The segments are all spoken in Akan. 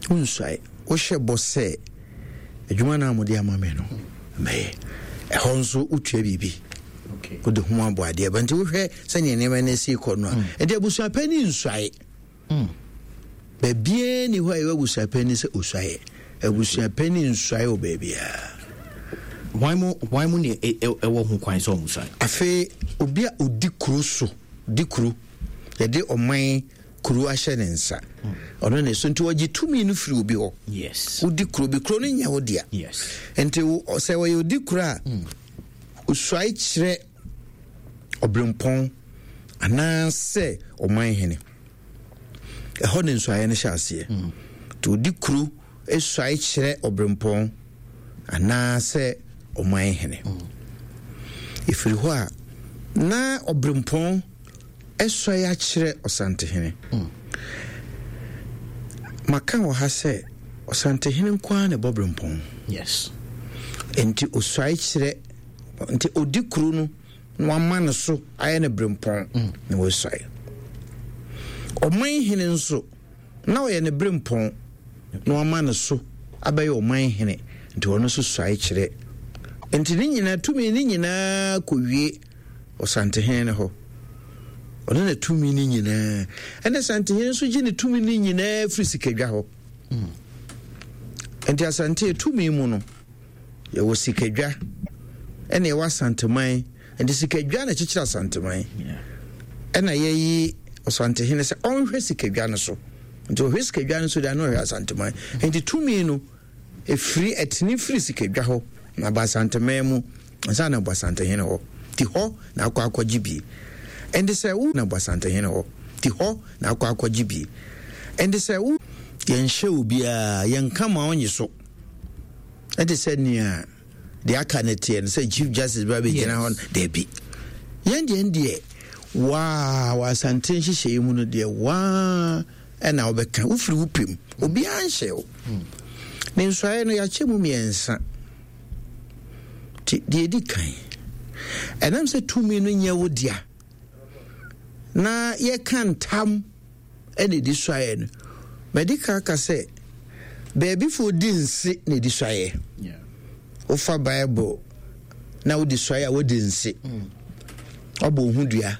Wonsuae. Wohyɛ bɔ sɛ adwuma no a mode ama me no mɛyɛ. Ɛhɔ nso wotua biribi. Wode ho abɔ adeɛ ba. Nti wohwɛ sɛnea nneɛma no si kɔ no a. Nti abusuapɛni nsuae. Baabiara ni hɔ a ɛwɔ abusuapɛni sɛ osuaeɛ. Abusuapɛni nsuae wɔ baabiara. Hwan mu hwan mu ne ɛwɔ ho kwan sɛ ɔmo suae? Afei obi a odi kuro so di kuro yɛde ɔman kuro ahyɛ ne nsa ɔno ne so nti ɔgye tumi no firi obi hɔ. Yes. Wodi kuro bi kuro no nyɛ wo dea. Yes. Nti sɛ ɔyɛ odi kuro a osuae kyerɛ ɔbrempɔn anaasɛ ɔman hene. Ɛhɔ ne nsuaeɛ no hyɛ aseɛ. Nti ɔdi kuro suae kyerɛ ɔbrempɔn anaasɛ ɔman hene. Ɛfiri hɔ a na ɔbrempɔn suae akyerɛ ɔsantehene. Maka wɔ ha sɛ ɔsantehene nko ara na ɛbɔ brempɔn. Yes. Nti ɔsuae kyerɛ nti ɔdi kuro no na wama no so ayɛ no berempɔn na wasuae. Ɔman hene nso, na ɔyɛ ne berempɔn na wama no so abɛyɛ ɔman hene, nti ɔno nso suae kyerɛ. Nti ne nyinaa tumi ne nyinaa kɔwie ɔsantehene no hɔ. Ɔno na tumi no nyinaa. Ɛna santehene nso gye ne tumi no nyinaa firi sikadwa hɔ. Nti asante tumi mu no, Yɛwɔ sikadwa ɛna yɛwɔ asanteman. Nti sikadwa na ɛkyekyere asanteman. Ɛna yɛyi ɔsantehene sɛ ɔnhwɛ sikadwa no so. Nti ɔhwɛ sikadwa no so deɛ na ɔhwɛ asanteman. Nti tumi no ɛfiri ɛtene firi sikadwa hɔ na aba asanteman mu ansa na aba asantehene hɔ. Nti hɔ na akɔ akɔgye bi. Ɛnti sɛ wo na aba asantehene hɔ. Nti hɔ na akɔ akɔgye bi. Ɛnti sɛ wo yɛnhyɛ obiara yɛnka ma ɔnye so. Ɛte sɛ nea deɛ aka no teɛ no sɛ chief justice ba bɛgyina hɔ no daabi. Yɛn deɛ deɛ waa wɔ asante nhyehyɛeɛ mu no deɛ waa ɛna wobɛka wofiri wo pɛ mu obiara nhyɛ wo. Ne nsuaeɛ no yɛakyɛ mu mmiɛnsa. Nti deɛ ɛdi kan ɛnam sɛ tumi no nyɛ wo dea na yɛka ntam na ɛdi suaeɛ no, madi kan aka sɛ baabifoɔ di nse na ɛdi suaeɛ. Wofa Bible na wodi suaeɛ a wodi nse. Wabɔ wo ho dua.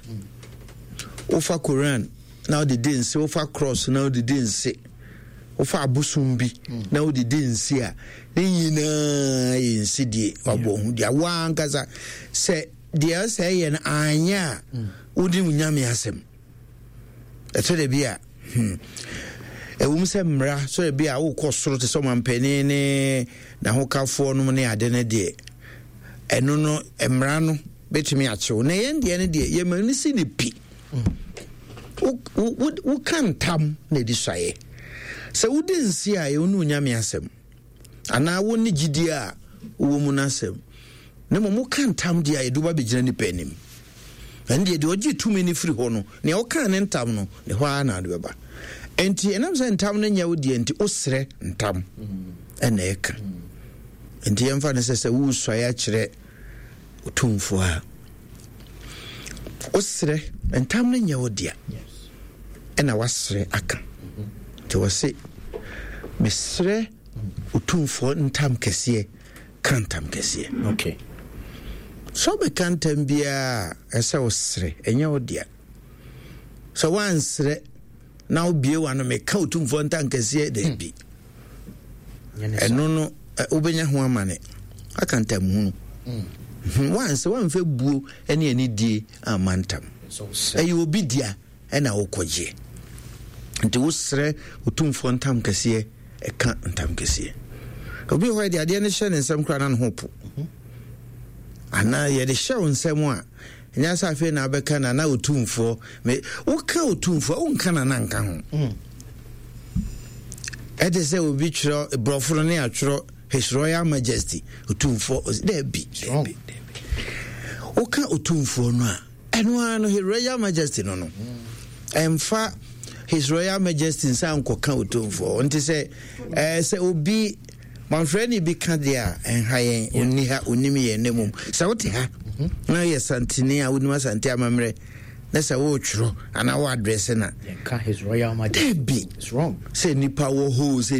Wofa Koran na wode di nse, wofa cross na wode di nse, wofa abosom bi na wode di nse a, ne nyinaa yɛ nsedie. Wabɔ wo ho dua. Woankasa sɛ deɛ ɛsɛ yɛ no anyɛ a, wode wo nyame asɛm. Ɛtɔ da bi a, ɛwom sɛ mmara sɛ bi a wokɔ soro te sɛ ɔmampanin ne n'ahokafoɔ nom ne ade no deɛ, ɛno no mmara no bɛtumi akyew. Na yɛn deɛ no deɛ, yɛma no si ne pi. Woka ntam na ɛdi suaeɛ. Sɛ wodi nse a, ɛwo ne onyame asɛm. Anaa wo ne gyidie a wowɔ mu no asɛm. Na mmom woka ntam deɛ a yɛde wo ba bɛgyina nnipa anim. Ɛno deɛ, deɛ ɔgye tumi no firi hɔ no, nea ɔkaa ne ntam no, ne hɔ ara na ade bɛba. Enti ɛnam sɛ ntam no nyɛ wo deɛ nti, wosrɛ ntam ɛna ɛka. Enti yɛmfa no sɛ sɛ woresuae akyerɛ otumfoɔ a, wosrɛ ntam no nyɛ wo dea ɛna wasrɛ aka. Nti wɔse mesrɛ otumfoɔ ntam kɛseɛ ka ntam kɛseɛ. Okay. Sɛ wobɛka ntam biara a, ɛsɛ wosrɛ, ɛnyɛ wo dea. Sɛ woansrɛ na wobie w'ano meka otumfoɔ ntam kɛseɛ daabi. Ɛno no wobɛnya ho amane aka ntam hunu. Woansrɛ, woamfa buo ne anidie amma ntam. Ɛyɛ obi dea. Ɛna wokɔgyeɛ. Nti wosrɛ Otumfoɔ ntam kɛseɛ, ɛka ntam kɛseɛ. Obi wɔ hɔ yɛde adeɛ no hyɛ ne nsam koraa na ne ho po. Anaa yɛde hyɛ wo nsam a, ɛnyɛ sɛ afei na abɛka nana Otumfoɔ. Me, woka Otumfoɔ, wonka nana nka ho. Ɛte sɛ obi twerɛ borɔfo no ne atwerɛ His Royal Majesty Otumfoɔ. Daabi, daabi, daabi. Woka Otumfoɔ no a, ɛno ara no His Royal Majesty no no ɛmfa His Royal Majesty nsa nkɔka Otumfoɔ. Nti sɛ ɛɛ sɛ obi manfrɛ bi ka deɛ a ɛnha yɛn, ɔnni ha, ɔnim yɛn. Na mmom sɛ wote ha na yɛ santene a wonim Asante amammerɛ na sɛ woretwerɛ anaa wo adrɛse na His Royal Majesty dabi sɛ nipa wɔ hɔ sɛ